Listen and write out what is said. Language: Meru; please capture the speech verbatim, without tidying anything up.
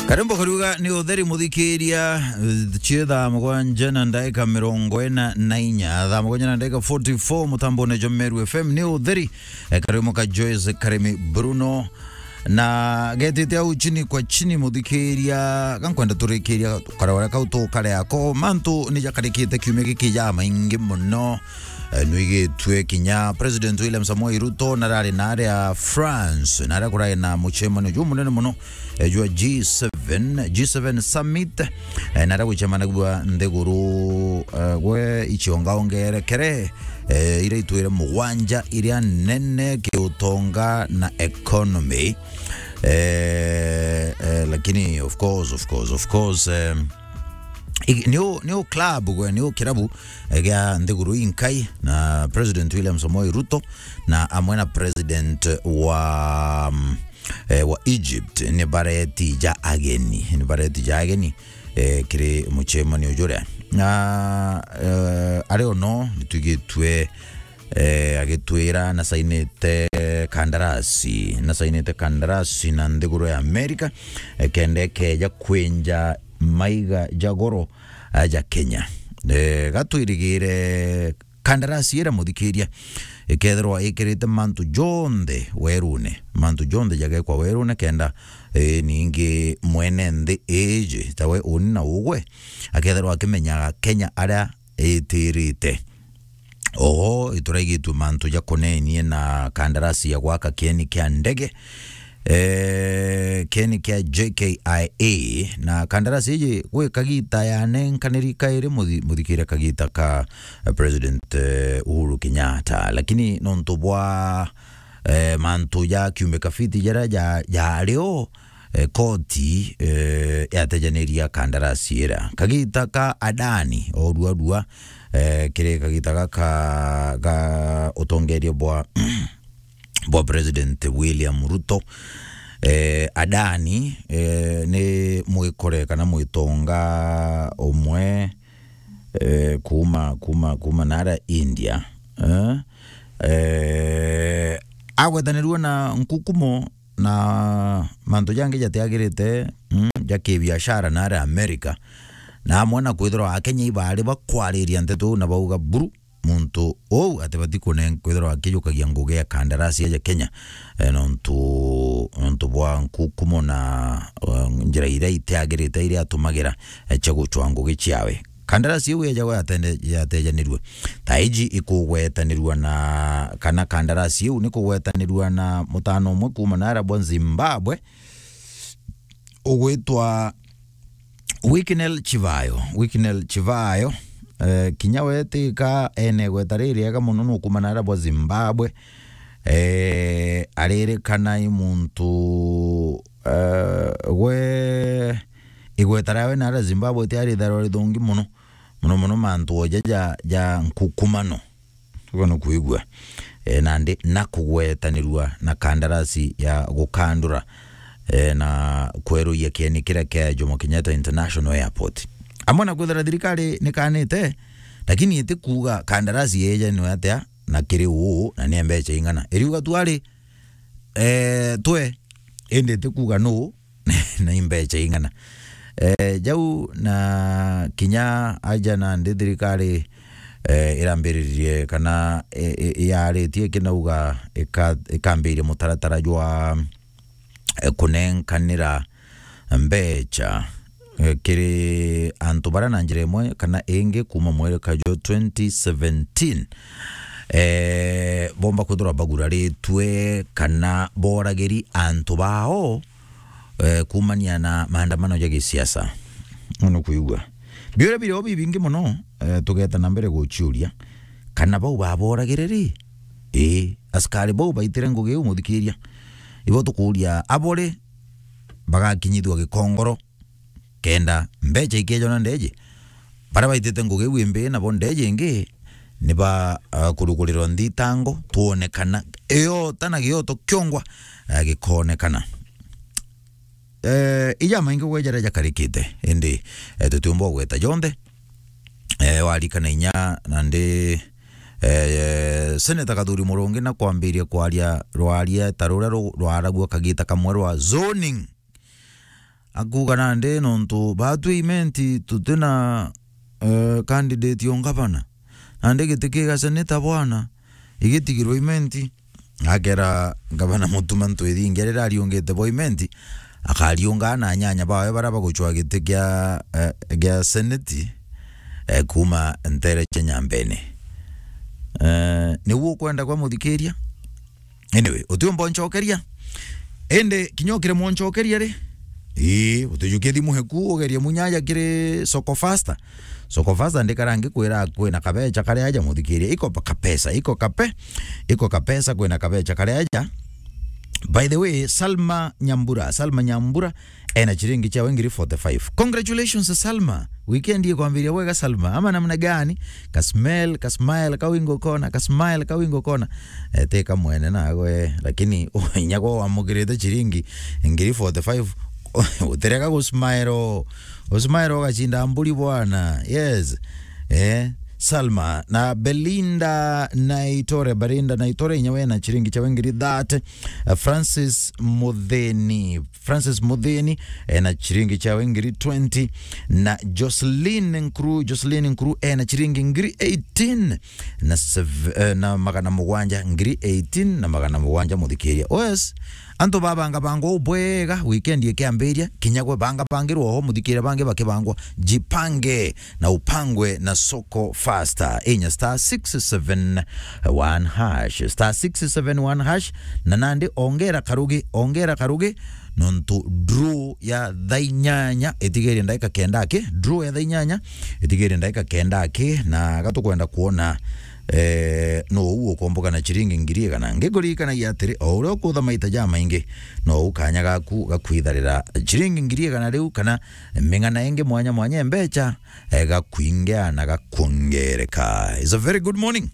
Karimbo kariuga ni utheri, muthikiria, eh, cie thaa mugwanja na ndaika mirongo ina na inya, thaa mugwanja na ndaika forty-four, mutambone jwa Meru F M ni utheri. Eh, karimo ka Joyce Karimi Bruno, na getite au chini kwa chini, muthikiria, gankwenda turikiria karwara kau tukare ako. Mantu ni jakarikite kiumia giki ja maingi muno. Eh, nwigitue kinya President William Samoei Ruto narari naria France, naria kurari na mucemanio jumunene muno, eh, jwa G seven, G seven Summit, eh, naria gucemanagua nthiguru, eh, gwe iciongaongerekere, eh, iria itwire mugwanja iria nene kiutonga na economy. Eh, eh, lakini of course, of course, of course, eh, i-, niu, niu club gwe, niu kirabu, eh, gia nthiguru inkai, na President William Samoei Ruto na amwe na President wa, mm, eh, wa Egypt ni bareti ja ageni, ni bareti ja ageni, eh, kiri mucemanio juria. Na, eh, ari ono nitwigitue, eh, agitwira nasainite kandarasi, nasainite kandarasi na nthiguru ya Amerika, eh, kenda ikeja kwinja maiga ja goro, eh, ja Kenya. Eh, gatwirigire kandarasi ira, muthikiria, ikethirwa ikirite mantu jonthe werune, mantu jonthe jagekwa werune, kenda, eh, ningi mwene nthi iji, tawe uni na ugwe, akethirwa akimenyaga Kenya aria itirite. Oho, ituraigitue mantu jakonenie na kandarasi ya gwaka kieni kia ndege, eh, kieni kia J K I A, na kandarasi iji gwi kagita yanenkaniri kairi, muthi-, muthikire kagita ka, eh, President, eh, Uhuru Kenyatta. Lakini nontu bwa, eh, mantu ja kiumbe kafiti jaria ja, jario, eh, koti, eh, yatejaniria kandarasi ira. Kagita ka Adani, o rua rua, eh, kiri kagita gaka ga utongeria bwa, bwa President William Ruto. Eh, Adani, eh, ni mwikore kana mwitonga umwe, eh, kuuma, kuuma, kuuma nara India. Eh, eh, agwetanirua na nkukumo na mantu jangi jatiagirite, mm, ja kibiashara nari Amerika, na amwe na kwithirwa Akenya ibari bakwariria nteto iu na bauga buru, muntu uu atibati kunen-, kwithirwa akijukagia ngugi ya kandarasi ya Kenya, eh, nontu, nontu bwa nkukumo na, eh, njira iria itiagirite iria atumagira, eh, cia gucwa ngugi ciawe. Kandarasi iu yejagwa yatende-, yatejanirue. Thaa iji ikugwetanirua na, kana kandarasi iu ni kugwetanirua na mutano umwe kuuma nara bwa Zimbabwe ugwitwa Wicknell Chivayo. Wicknell Chivayo, eh, kinya we tika ene gweta ririega muno, nukuuma nara bwa Zimbabwe. Eh, aririkana i muntu, eh, gwe igweta riawe nara Zimbabwe tiari itharwa rithongi muno, muno muno mantu oja ja, ja nkukumano. Tuga no kuigua. Eh, nandi na kugwetanirua na kandarasi ya gukandura, eh, na kweruia kieni kiria kia Jomo Kenyatta International Airport. Amwe na kwithira thirikari nikanite, lakini itikuga kandarasi yejanwe atia na kiri uu na ni mbecha ing'ana. Iriuga tu ari, eh, twe, indi itikuga nuu na imbecha ing'ana. Eh, jau na kinya aja nandi thirikari, eh, irambiririe kana, eh, eh, yaritie kinauga ika-, ikambiria mutaratara jwa, eh, kunenkanira mbecha, eh, kiri antu baria na njira imwe kana ingi kuuma mweri kaju twenty seventeen, eh, bomba kwithirwa baguraritwe kana boragiri antu bao, eh, kuumania na maandamano ja gisiasa. Uno kuigua. Biuria birio bibingi muno, eh, tugeta na mbere guciuria kana bau baboragire ri? Ii, askari bau baitire ngugi iu, muthikiria. Ibo tukuuria, abore bagakinyithua gikongoro kenda mbecha ikejona ndeje? Baria baitite ngugi iu imbi nabo ndeje ingi, ni ba, ah, kurugurirwa nthitango, twone kana iota na gioto kiongwa, eh, gikonekana. Eh, ija maingi gwe jaria jakarikite, indi, eh, tutiumba gweta jonthe. Eh, warikana inya nandi, eh, Senator Kathuri Murungi na kwambiria kwaria rwaria ta ruria ru-, rwaragua kagita kamwe rwa zoning. akuuga nandi nontu baatwi Imenti tutina, eh, candidate o ngavana. Nandi giti kia seneta bwana, igitigirwe Imenti, akera ngavana Mutuma Ntwithingia riria ariungite bo Imenti, akariunga na anyanya bawe baria bagucwa giti gia, eh, gia seneti, eh, kuuma ntere cia Nyambene. Eh, niu ukwenda kwa muthikiria? Anyway, utiumba uncokeria. Indi kinya ukire mwancokeria ri? Ii, utijukie thimu heku, ugerie munya aja kiri Soko Faster. Soko Faster ndikara ngikwira kwina kabecha kari aja muthikiria. Iko pa-, kapesa, iko kape, iko kapesa, kwina kabecha kari aja. By the way, Salma Nyambura, Salma Nyambura, ena chiringi chiawe ngiri forty-five. Congratulations, Salma. Weekend ikwambiria bwega, Salma. Ama namna gani? Ka smell, ka smile, ka wingo kona, ka smile, ka wingo kona. Eh, teka mwene nawe, lakini inya kwa wamukirite chiringi ngiri forty-five, utirega gu smile. U smile ugachinda mburi bwana. Yes. Eh, Salma na Belinda Naitore, Belinda Naitore, inya we na chiringi chiawe ngiri thirty. Eh, Francis Mutheni, Francis Muthini, ena chiringi chiawe ngiri twenty, na Jocelyn Nkuru, Jocelyn Nkuru, ena chiringi ngiri eighteen na sev-, eh, na magana mugwanja, ngiri eighteen na magana mugwanja, muthikiria. Yes, antu babanga bangwa u bwega, weekend ikiambiria, kinya gwe banga bangirwa oho, muthikiria, bangi bakibangwa, jipange na upangwe na Soko Faster. Inya star six seven one hash, star six seven one hash, na nandi ongera karugi, ongera karugi, nontu draw ya thaa inyanya itigerie ndagika kenda aki, draw ya thaa inyanya itigerie ndagika kenda aki, na gatukwenda kuona, eh, no u ukomboka na chiringi ngiri igana. Ngikuririkanagia atiri, o uria ukutha maita jamaingi, no u kanya gaku gakwitharira chiringi ngiri igana riu kana ming'ana ingi mwanya mwanya ya mbecha, eh, gakwingea na gakwongereka. It's a very good morning.